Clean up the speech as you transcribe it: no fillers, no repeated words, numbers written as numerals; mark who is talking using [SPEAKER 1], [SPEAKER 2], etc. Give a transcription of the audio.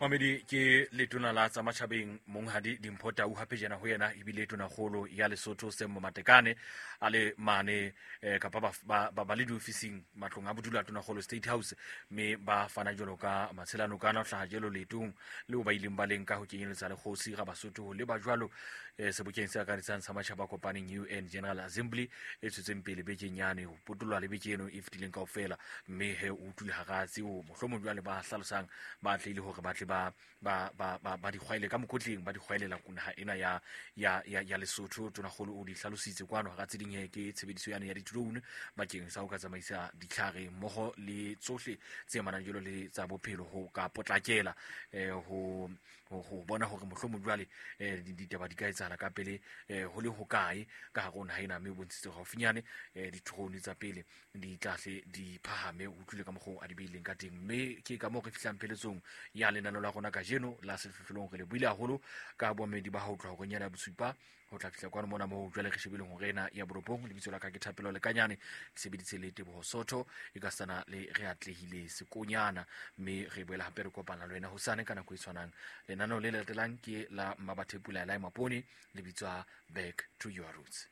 [SPEAKER 1] Mamedi ke letona la tsa matjhabeng Monghadi Dimpho Tau, hape jena ho yena ebile tonakgolo ya Lesotho Semmo Matekane a le mane kapa ba le diofising matlong a bodulo a tonakgolo State House, mme ba fana jalo ka matshelano kana ho hlaha jalo leetong leo ba ileng ba leng ka ho kenyeletsa le kgosi ga Basotho ho leba jwalo sebokeng se akaretsang sa matjhaba a kopaneng UN General Assembly e tswetseng pele bekeng yane ho potoloha le beke eno e fetileng kaofela. Mme he o utlwile hara tseo mohlomong jwale ba hlalosang ba atlehile hore ba tle ba di kgwaele ka mokotleng, ba di kgwaelela naha ena ya Lesotho. Tonakgolo o di hlalositse kwano hara tse ding he ke tshebediso yane ya di-drone bakeng sa ho ka tsamaisa ditlhare mmoho le tsohle tse amanang jwalo le tsa bophelo ho ka potlakela ho bona hore mohlomong jwale ditaba di ka etsahala ka pele ho le hokae ka hare ho naha ena. Mme o bontshitse haufinyane di-drone tsa pele di tlahle di phahame, o utlwile ka mokgwa a di beileng ka teng. Mme ke ka moo re fihlang pheletsong ya lenaneo la rona kajeno la Sehlohlolong. Re le buile haholo ka boamedi ba ho tloha horeng yana ya bosupa ho tla fihla kwano mona moo jwale re shebileng hore ena ya boropong. Lebitso la ka ke Thapelo Lekanyane, ke sebeditse le Teboho Sotho e ka sana le re atlehile Sekonyana, mme re boela hape re kopana le wena hosane ka nako e tshwanang. Lenaneo le latelang ke la Mmabathepula la Mapone, le bitswa Back to Your Roots.